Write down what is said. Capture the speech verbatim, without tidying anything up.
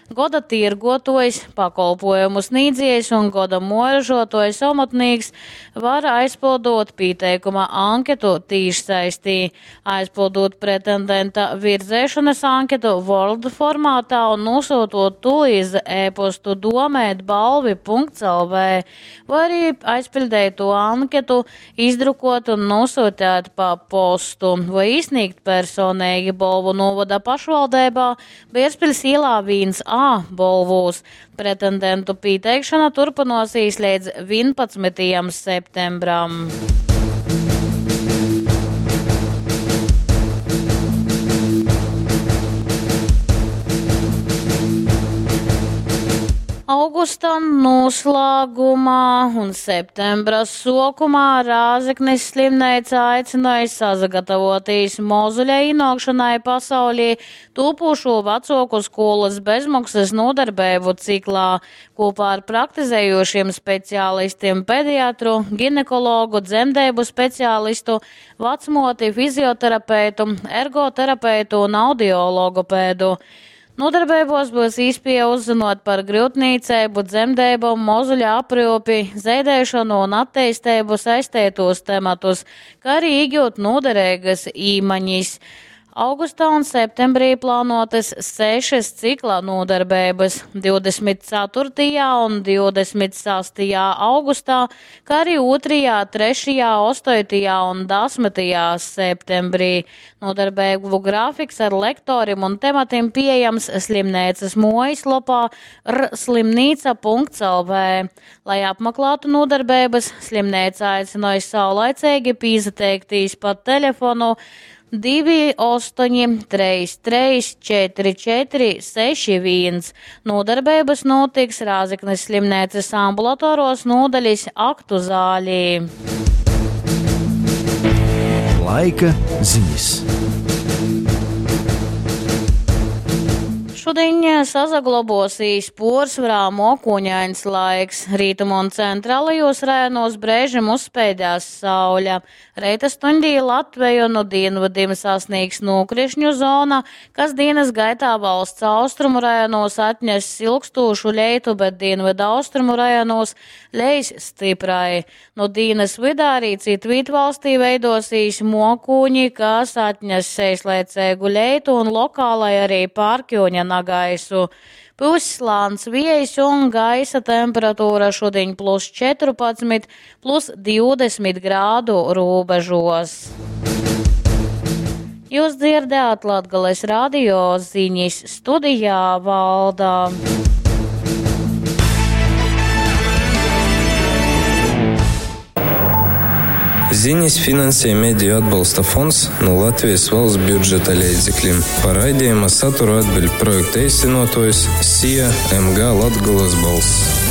goda tirgotojs, pakolpojumu sniedziejs un goda muojražotojs omotnīks var aizpildot pieteikuma anketu tīšsaistī, aizpildot pretendenta virzēšanas anketu Word formātā un nosūtot to iz e-postu domēt balvi punkts lv, vai arī aizpildēt to anketu, izdrukot un nosūtīt pa postu, vai iesniegt personīgi Bolvu novada pašvaldībā Bierzpiļs ielā viens A Bolvūs. Pretendentu pieteikšana turpināsies līdz vienpadsmitajam septembram. Augusta noslēgumā un septembra sokumā Rāzeknes slimnīca aicināja sazagatavoties mozuļa ienākšanai pasaulī tūpošo vecoku skolas bezmaksas nodarbību ciklā kopā ar praktizējošiem speciālistiem pediatru, ginekologu, dzemdību speciālistu, vecmoti, fizioterapeitu, ergoterapeitu un audiologopēdu. Nodarbībos būs īspēja uzzinot par grūtniecību, dzemdību, mozuļa aprūpi, zeidēšanu un attīstību saistītos tematus, kā arī iegūt noderīgas īmaņas. Augustā un septembrī plānotas sešas cikla nodarbības divdesmit ceturtajā un divdesmit sastajā augustā, kā arī otrajā, trešajā, astotajā un desmitajā septembrī. Nodarbību grafiks ar lektoriem un tematiem pieejams slimnīcas mājaslapā r slimnīca punkts lv. Lai apmeklētu nodarbības, slimnīca aicināja saulaicīgi pieteikties pa telefonu divi astoņi trīs trīs četri četri seši viens. Nodarbības notiks Rāzeknes slimnīcas ambulatoros nodaļas aktu zālī. Laika ziņas. Šodien sazaglobosīs porcelāna mokoņains laiks. Rītumu un centrālajos rajonos brēžam uzspēdās saule. Reita stundī Latviju no dienvidiem sasniegs nokrišņu zona, kas dienas gaitā valsts austrumu rajonos atnes ilgstošu leitu, bet dienvidu austrumu rajonos leis stiprai. No dienas vidā arī citvīt valstī veidosīs mokūņi, kas atnes seislaicēgu leitu un lokālai arī pārkjoņa nagaisu. Puslāns viejs un gaisa temperatūra šodien plus četrpadsmit, plus divdesmit grādu robežos. Jūs dzirdējāt Latgales radio ziņas studijā Valda. Ziņas finansē Mediju atbalsta fonds no Latvijas valsts budžeta līdzekļiem. Par raidījuma saturu atbild projekta īstenotājs S I A M G Latgolas balss.